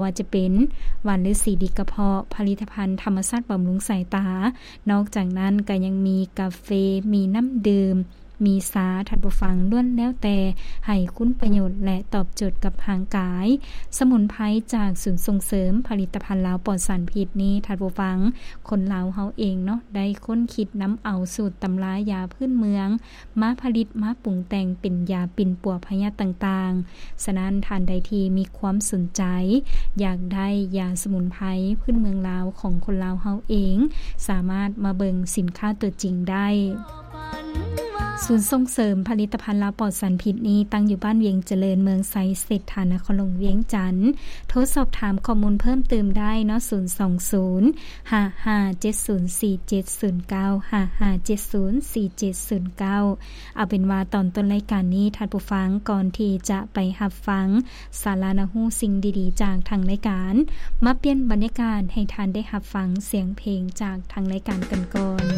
ວ່າຈະເປັນ ຫວ່ານລືສີດີກະເພາະ, ຜະລິດຕະພັນທຳມະຊາດບຳລຸງສາຍຕາ. ນອກຈາກນັ້ນກໍຍັງມີກາເຟ, ມີນ້ຳດື່ມ, ມີຊາ, ທ່ານຜູ້ຟັງ, ລ້ວນແລ້ວແຕ່ໃຫ້ຄຸນປະໂຫຍດ ແລະ ຕອບໂຈດກັບຮ່າງກາຍ. ສະໝຸນໄພຈາກສູນສົ່ງເສີມຜະລິດຕະພັນລາວປອດສານພິດນີ້, ທ່ານຜູ້ຟັງ, ຄົນລາວເຮົາເອງເນາະ ໄດ້ຄົ້ນຄິດນຳເອົາສູດຕຳລາຢາພື້ນເມືອງ ມາຜະລິດມາປຸງແຕ່ງເປັນຢາປິ່ນປົວພະຍາດຕ່າງໆ. ສະນັ້ນ, ທ່ານໃດທີ່ມີຄວາມສົນໃຈ ຢາກໄດ້ຢາສະໝຸນໄພພື້ນເມືອງລາວຂອງຄົນລາວເຮົາເອງ, ສາມາດມາເບິ່ງສິນຄ້າຕົວຈິງໄດ້. ສູນສົ່ງເສີມຜະລິດຕະພັນລາວປອດສານພິດນີ້ ຕັ້ງຢູ່ບ້ານວຽງຈະເລີນ, ເມືອງໄຊເສດຖາ, ນະຄອນຫຼວງວຽງຈັນ. ໂທສອບຖາມຂໍ້ມູນເພີ່ມເຕີມໄດ້ເນາະ, ສູນສອງສູນ ຫ້າຫ້າເຈັດສູນສີ່ເຈັດສູນເກົ້າ ຫ້າຫ້າເຈັດສູນສີ່ເຈັດສູນເກົ້າ. ເອົາເປັນວ່າຕອນຕົ້ນລາຍການນີ້, ທ່ານຜູ້ຟັງ, ກ່ອນທີ່ຈະໄປຮັບຟັງສາລະໜ້າຮູ້ສິ່ງດີໆຈາກທາງລາຍການ, ມາປ່ຽນບັນຍາກາດໃຫ້ທ່ານໄດ້ຮັບຟັງສຽງເພງຈາກທາງລາຍການກັນກ່ອນ.